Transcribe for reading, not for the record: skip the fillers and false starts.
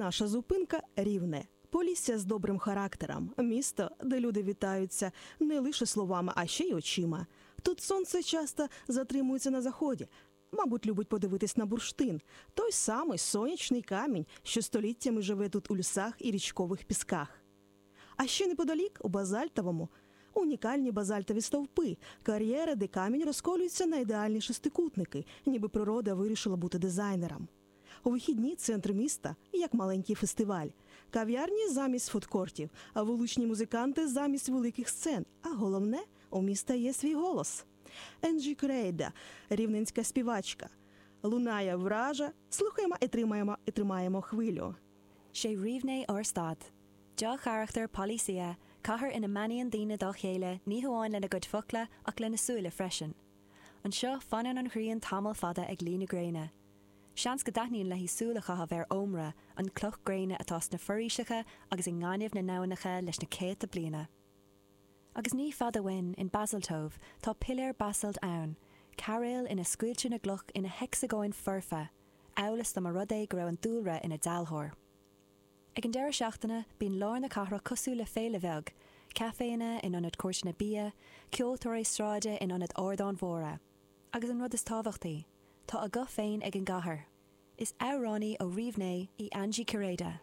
Наша зупинка Рівне. Полісся з добрим характером, місто, де люди вітаються не лише словами, а ще й очима. Тут сонце часто затримується на заході. Мабуть, любить подивитись на бурштин, той самий сонячний камінь, що століттями живе тут у лісах і річкових пісках. А ще неподалік, у Базальтовому, унікальні базальтові стовпи, кар'єри, де камінь розколюється на ідеальні шестикутники, ніби природа вирішила бути дизайнером. У вихідні центр міста як маленький фестиваль. Кав'ярні замість фудкортів, а вуличні музиканти замість великих сцен. А головне, у міста є свій голос. Енджі Крейда, рівненська співачка. Лунає вража, слухаємо і тримаємо, і тримаємо хвилю. 'Sé Rivne ár stad. Dea-charachtar Polissya, cathair ina mbeannaíonn daoine dá chéile ní hamháin lena gcuid focla ach lena súile freisin. Anseo, fanann an ghrian tamall fada ag luí na gréine. Seans go dtaitníonn léi súil a chaitheamh ar ómra, an cloch gréine atá sna foraoiseacha agus i ngaineamh na n-aibhneacha leis na céadta bliana. Agus ní fada uainn, in Basaltove, tá piléar basalt ann, cairéal ina scoiltear na gcloch ina heicseagóin foirfe, amhail is dá mba rud é go raibh an dúlra ina dealbhóir. Ag an deireadh seachtaine, bíonn lár na cathrach cosúil le féile bheag, caiféanna in ionad cúirteanna bia, ceoltóirí sráide in ionad ardáin mhóra. Agus an rud is tábhachtaí, tá a guth féin ag an gcathair. Is amhránaí ó Rivne í Angie Kireda.